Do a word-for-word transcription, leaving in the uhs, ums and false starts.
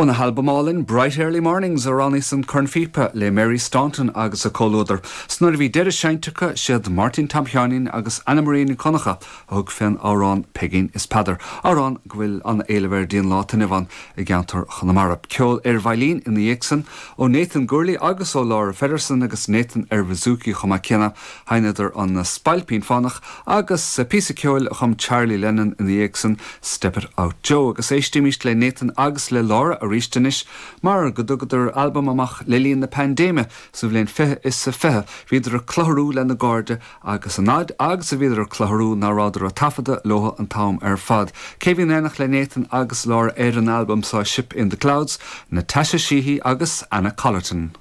Óna halbam álainn Bright Early Mornings a roghnaíos an cornphíopa le Mary Staunton agus a comhluadar. 'S nuair a bhí deireadh seinnte acu siad Máirtín Tom Sheáinín agus Anna Maria Nic Dhonncha a thug fén amhrán Peigín is Peadar. Amhrán go bhfuil an-éileamh air dtí'n lá inniu ann i gceantar Chonamara. Ceol ar veidhlín ina dhiaidh san ó Nathan Gourley agus ó Laura Feddersen agus Nathan ar bouzouki chomh maith céanna sheinneadar an Spailpín Fánach agus píosa ceoil a chum Charlie Lennon ina dhiaidh san Step It Out Joe agus éistimís le Nathan agus le Laura arís anois mar go dtugadar albam amach le linn na paindéime sa bhliain fiche is a fiche, bhíodar ag clutharú lena gcairde agus an fhad agus a bhíodar ag clutharú ná rabhadar ag taifeadadh leo an t-am ar fad. Cé bhí in éineacht le Nathan agus Laura ar an albam seo Ship in the Clouds, Natasha Sheehy agus Anna Collerton.